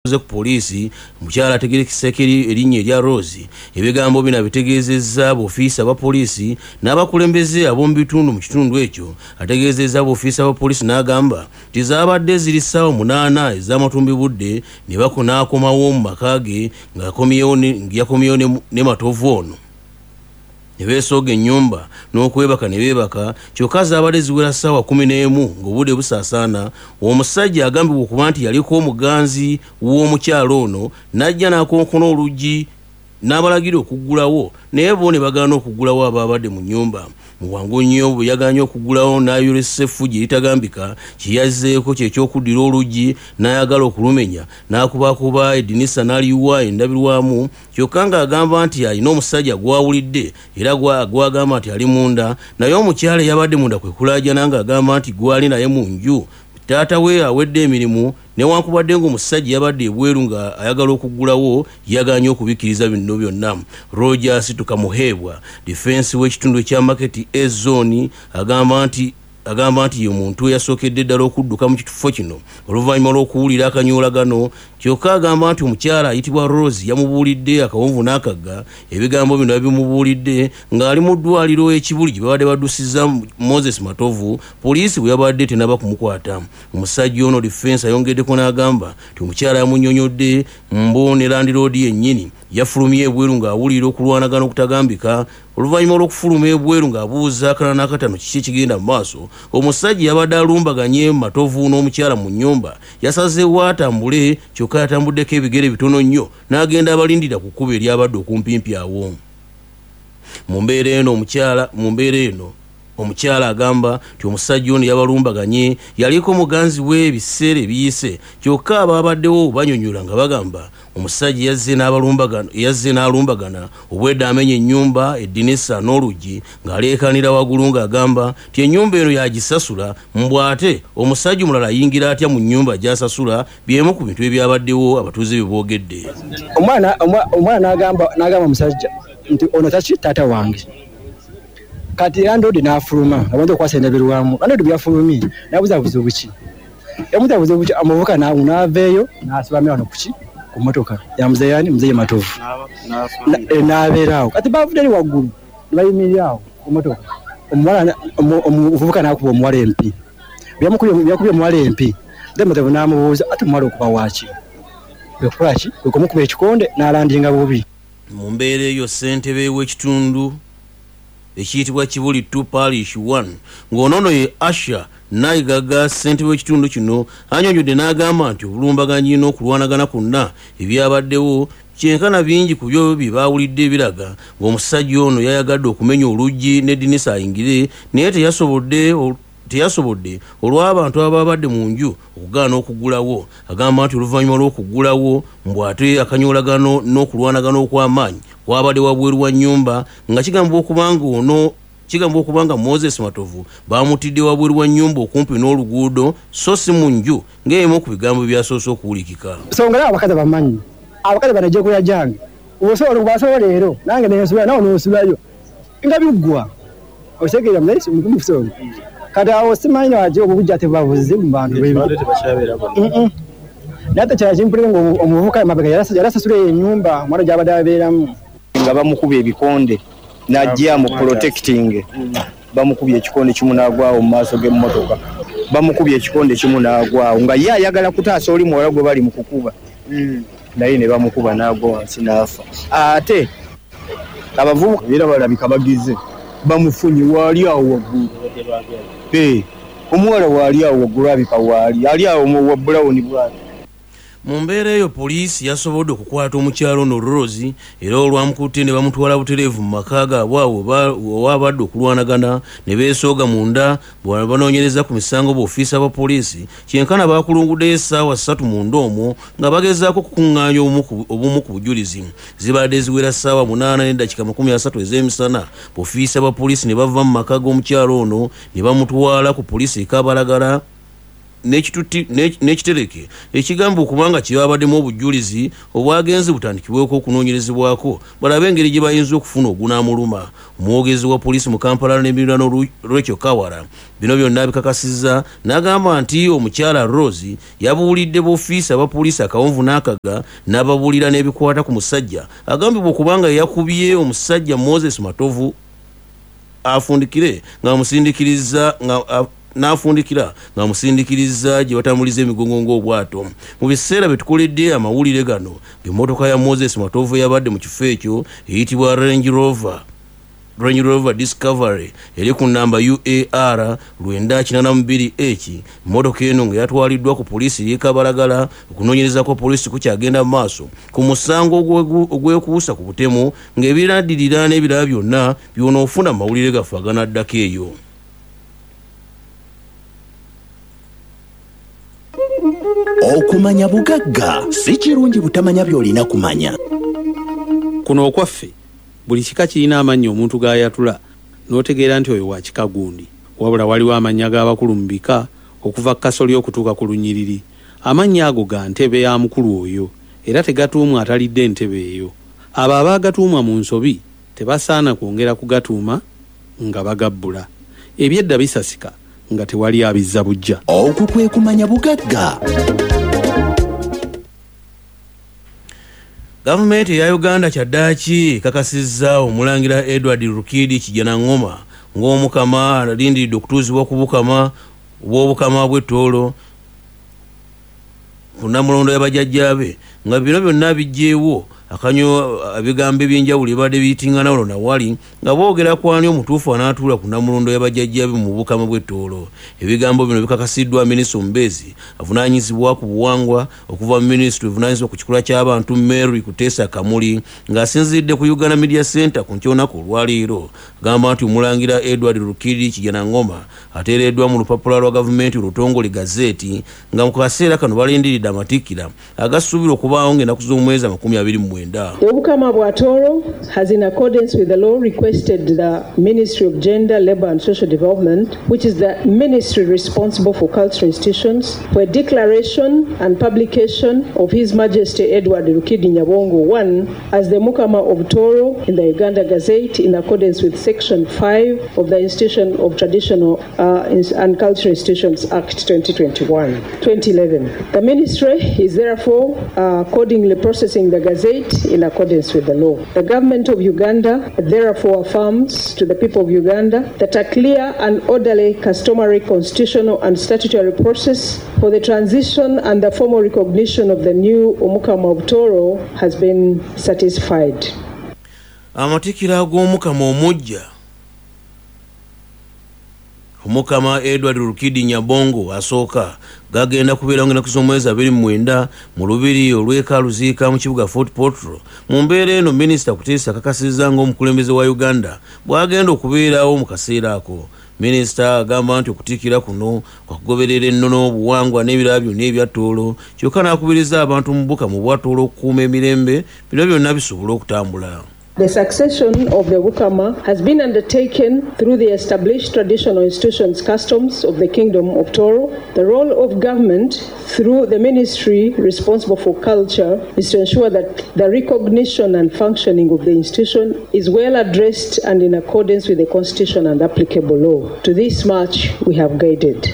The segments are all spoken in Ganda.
Ku poliisi, omukyala ategerekeseko erinnya erya Rose, ebigambo bino abitegeezezza boofiisa ba poliisi n'abakulembeze ab'omu bitundu mu kitundu ekyo. Ategeezezza boofiisa ba poliisi n'agamba nti zaabadde ziri ssaawa 8 ez'amatumbi budde ne n'akomawo mu maka ge nga yakomyewo ne Matovu ono ne beesooga ennyumba n'okwebaka ne beebaka. Kyokka zaabadde ziwera ssaawa 11 ng'obudde busaasaana, omusajja agambibwa okuba nti yaliko omuganzi w'omukyala ono n'ajja n'akonkona oluggi n'abalagira okuggulawo, naye bo ne bagaana okuggulawo. Abaabadde mu nnyumba mu bwangu nnyo bwe yagaanye okuggulawo, n'ayolesa effujjo eritagambika. Kye yazzeeko kyekyokuddira oluggi n'ayagala okulumenya, n'akubakuba eddinisa n'aliwa endabirwamu, kyokka ng'agamba nti alina omusajja gw'awulidde era gw'agamba nti ali munda. Naye omukyala eyabadde munda kwe kulaajana ng'agamba nti gw'ali naye mu nju taata we awedde emirimu, newankubadde ng'omusajja yabadde ebweru nga ayagala okuggulawo, yagaanye okubikkiriza bino byonna. Rogers Tukamuheebwa, defense w'ekitundu ekya Market A Zone, agamba nti ye muntu eyasookedde ddala okudduka mu kifo kino oluvannyuma lw'okuwulira akanyoolagano. Kyokka agamba nti omukyala ayitibwa Rose yamubuulidde akawonvu n'akagga. Ebigambo bino yabimubuulidde ng'ali mu ddwaliro e Kibuli gye babadde baddusiza Moses Matovu, poliisi bwe yabadde tenaba kumukwata. Omusajja ono defense ayongeddeko n'agamba nti omukyala yamunnyonnyodde mbu ne landiroodi yennyini yafulumye ebweru ng'awulira okulwanagana okutagambika. Oluvannyuma lw'okufuluma ebweru ng'abuuza akana n'akatano kiki ekigenda mu maaso, omusajja yabadde alumbaganye Matovu n'omukyala mu nnyumba. Yasazeewo atambule, kyokka yatambuddeko ebigere bitono nnyo n'agenda abalindira ku kkubo eryabadde okumpimpi awo. Mu mbeera eno omukyala agamba nti omusajja ono yabalumbaganye yaliko muganzi we ebiseera ebiyise. Kyokka abaabaddewo banyonyola nga bagamba omusajja yazze n'alumbagana, obwedda amenya ennyumba, eddinisa n'oluggi, ng'aleekaanira waggulu ng'agamba nti ennyumba eno yagisasula, mbw ate omusajja omulala ayingira atya mu nnyumba gy'asasula. Byemu ku bintu ebyabaddewo abatuuze bye boogedde. Omwana n'agamba omusajja nti ono taki taata wange. Kati landlord n'afuluma abantu okwasa endabirwamu. Landlord byafulumye n'abuuza buzibu ki, yamubuuza buzibu ki. Omuvubuka n'aveeyo n'asibamira wano kuki ku motoka ya muzeeyi ani, Muzeeyi Matovu, n'abeera awo. Kati bavudde eri waggulu ne bayimirira awo ku motoka. Omuvubuka n'akuba omuwala empi. Yakubye omuwala empi, then Matovu n'amubuuza ate omuwala okuba waaki, kwekukola ki, kwe kumukuba ekikonde n'alandinga bubi. Mu mbeera eyo, ssentebe w'ekitundu ekiyitibwa Kibuli 2 Parish 1, ng'onoono ye Asha Naigaga, ssentebe w'ekitundu kino annyonnyodde n'agamba nti obulumbaganyi n'okulwanagana kwonna ebyabaddewo kyenkana bingi ku byo bye baawulidde biraga ng'omusajja ono yayagadde okumenya oluggi n'eddinisa ayingire, naye teyasobodde olw'abantu ababadde mu nju okugaana okuggulawo. Agamba nti oluvannyuma lw'okuggulawo, mbw ate akanyoolagano n'okulwanagana okw'amaanyi kwabadde wabweru wa nnyumba, nga kigambibwa okuba nga Moses Matovu bamutidde wabweru wa nnyumba okumpi n'oluguudo, so si mu nju ng'emu ku bigambo byasoose okuwulikika. So nga abakazi abamanyi, abakazi bano ejjekulya gyange osobola basobola leero nange nensula nawe nosulayo nga biggwa, okitegeera mumusonga. Kati awo simanyi lwaki obujja tebuba buzibu mu bantu. Naye ate kirala kimpulire nga omuvubuka emabega yarasasula eyo ennyumba omwana gyabadde abeeramu. Nga bamukuba ebikonde n'ajja mu protecting, bamukubye ekikonde kimu n'agwawo mu maaso g'emmotoka. Bamukubye ekikonde kimu n'agwawo nga ye ayagala kutaasa oli muwala gwe bali mu kukuba, naye ne bamukuba n'agwa wansi n'afa. Ate abavubuka era balabika bagize bamufunye waali awo waggulu. Omuwala waali awo waggulu, abika waali ali awo wa bulawuni bwati. Mu mbeera eyo, poliisi yasobodde okukwata omukyalo ono Rose, era olwamukutte ne bamutwala butereevu mu maka gaabwe awo owabadde okulwanagana ne beesooga munda bwe banoonyereza ku misango. Boofiisa ba poliisi kyenkana bakulunguddeyo essaawa 3 munda omwo nga bagezaako okukuŋŋaanya obumu ku bujulizi. Zibadde ziwera ssaawa 8 n'eddakiika 30 ez'emisana, boofiisa ba poliisi ne bava mu maka g'omukyalo ono ne bamutwala ku poliisi e Kabalagala. n'ekitereke ekigamba okubanga kyebabaddemu obujulizi obwagenze butandikibweko okunoonyerezebwako balabe engeri gye bayinza okufuna ogunaamuluma. Omwogezi wa poliisi mu Kampala n'emiriraano Rachel Kawala bino byonna bikakasizza n'agamba nti omukyala Rose yabuulidde boofiisa aba poliisi akawonvu n'akaga n'ababuulira n'ebikwata ku musajja agambibwa okubanga yakubye omusajja Moses Matovu afundikire ng'amusindikiriza n'afundikira ng'amusindikiriza gye batambuliza emigongo ng'obwato. Mu biseera bye tukoledde amawulire gano, ng'emmotoka ya Moses Matovu yabadde mu kifo ekyo eyitibwa Range Rover Discovery eri ku nnamba UAR 982H. Emmotoka eno nga yatwaliddwa ku poliisi y'e Kabalagala. Okunoonyereza kwa poliisi kukyagenda mu maaso ku musango ogwekuusa ku butemu, ng'ebiranddirira n'ebirala byonna by'onoofuna mu mawulire gaffe aganaddako eyo. Okumanya bugagga, si kirungi butamanya by'olina kumanya. Kuno okwaffe buli kika kirina amannya omuntu g'ayatula n'otegeera nti oyo wa kika gundi. Wabula waliwo amannya g'abakulu mu bika okuva ku kasolya okutuuka ku lunyiriri. Amannya ago ga ntebe ya mukulu oyo era tegatuumwa atalidde ntebe eyo. Abo abaagatuumwa mu nsobi tebasaana kwongera kugatuuma nga bagabbula. Ebyedda bisasika nga tewali abizza buggya. Okwo kwe kumanya bugagga. Gavumenti eya Uganda kyaddaaki ekakasizza omulangira Edward Rukidi Kijanangoma ng'omukama alindiridde okutuuzibwa ku bukama obw'obukama bw'e Tooro ku nnamulondo y'abajjajjaabe, nga bino byonna biggyeewo akanyo ebigambo eby'enjawulo ebibadde biyitingana wano nawali nga boogera ku ani omutuufu anaatuula ku nnamulondo y'abajjajjaabe mu bukama bw'e Tooro. Ebigambo bino bikakasiddwa minisita omubeezi avunaanyizibwa ku buwangwa okuva mu minisitule evunaanyizibwa ku kikula ky'abantu Mary Kuteesa Kamuli ng'asinziridde ku Uganda Media Center ku nky'olunaku olwaleero. Agamba nti omulangira Edward Rukidi Kijanangoma ateereddwa mu lupapula lwa gavumenti olutongole gazeeti, nga mu kaseera kano balindiridde amatikkira agasuubirwa okubaawo ng'ennaku z'omwezi 29. The Obukama bwa Tooro has, in accordance with the law, requested the Ministry of Gender, Labour and Social Development, which is the ministry responsible for cultural institutions, for a declaration and publication of His Majesty Edward Rukidi Nyabongo I as the Mukama of Tooro in the Uganda Gazette in accordance with Section 5 of the Institution of Traditional and Cultural Institutions Act 2011. The ministry is therefore accordingly processing the Gazette in accordance with the law. The government of Uganda therefore affirms to the people of Uganda that a clear and orderly customary constitutional and statutory process for the transition and the formal recognition of the new Omukama of Tooro has been satisfied. Amatikkira g'Omukama omuggya Omukama Edward Rukidi Nyabongo asooka gagenda kubeerawo ng'ennaku z'omwezi 29 mu lubiri olw'e Kaluziika mu kibuga Fort Portal. Mu mbeera eno minisita Kuteesa akakasizza ng'omukulembeze wa Uganda bw'agenda okubeerawo mu kaseera ako. Minisita agamba nti okutikkira kuno kwa kugoberera ennono, obuwangwa n'ebirala byonna ebya Tooro, kyokka n'akubiriza abantu mu bukama obwa Tooro okukuuma emirembe bino byonna bisobole okutambula. The succession of the Bukama has been undertaken through the established traditional institutions customs of the Kingdom of Tooro. The role of government through the ministry responsible for culture is to ensure that the recognition and functioning of the institution is well addressed and in accordance with the constitution and applicable law. To this much we have guided.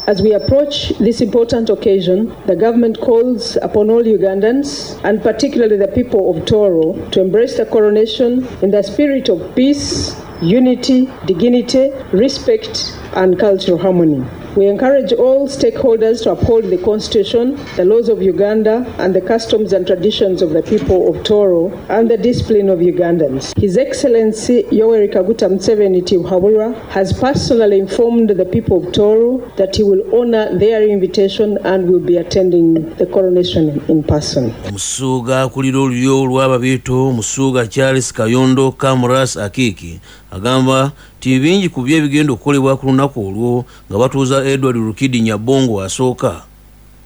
As we approach this important occasion, the government calls upon all Ugandans, and particularly the people of Tooro, to embrace the coronation in the spirit of peace, unity, dignity, respect, and cultural harmony. We encourage all stakeholders to uphold the Constitution, the laws of Uganda, and the customs and traditions of the people of Tooro, and the discipline of Ugandans. His Excellency Yoweri Kaguta Museveni Tibuhaburwa has personally informed the people of Tooro that he will honor their invitation and will be attending the coronation in person. Omusuuga akulira olulyo olw'Ababiito, Omusuuga Charles Kayondo Kamras Akiki, agamba nti bingi ku byo ebigenda okukolebwa ku lunaku olwo nga batuuza Edward Rukidi Nyabongo asooka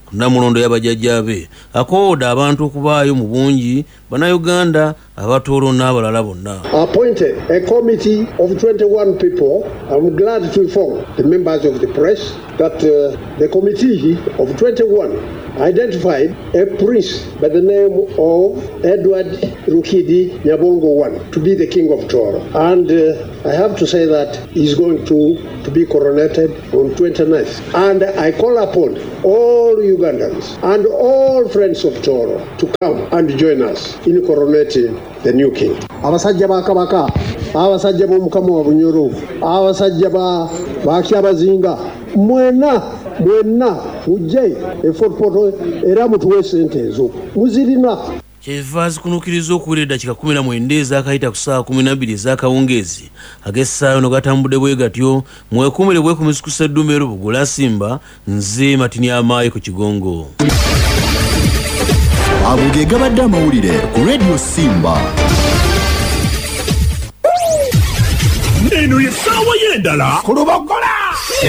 Ku Nnamulondo ya bajjajjaabe akoowodde abantu okubaayo mu bungi, Bannayuganda, Abatooro n'abalala bonna. Appointed a committee of 21 people. I'm glad to inform the members of the press that the committee of 21 identified a prince by the name of Edward Rukidi Nyabongo I to be the king of Toro. And I have to say that he's going to be coronated on 29th. And I call upon all Ugandans and all friends of Toro to come and join us in coronating the new king. Abasajja ba Kabaka, abasajja b'Omukama wa Bunyoro, abasajja ba Kyabazinga, mwena mwenna mujje e Fort Portal era mutuwe sente ezo muzirina. Kyeva zikunuukiriza okuwera eddakiika 19 ezaakayita ku ssaawa 12 ez'akawungeezi ag'essaawa eno gatambudde bwe gatyo. Mwekumire bwekumizi ku sseddume Rubugula Simba, nze Matini Amaayi ku Kigongo. Ago ge gabadde amawulire ku Radio Simba. Eno ye ssaawa y'endala ku Lubogola.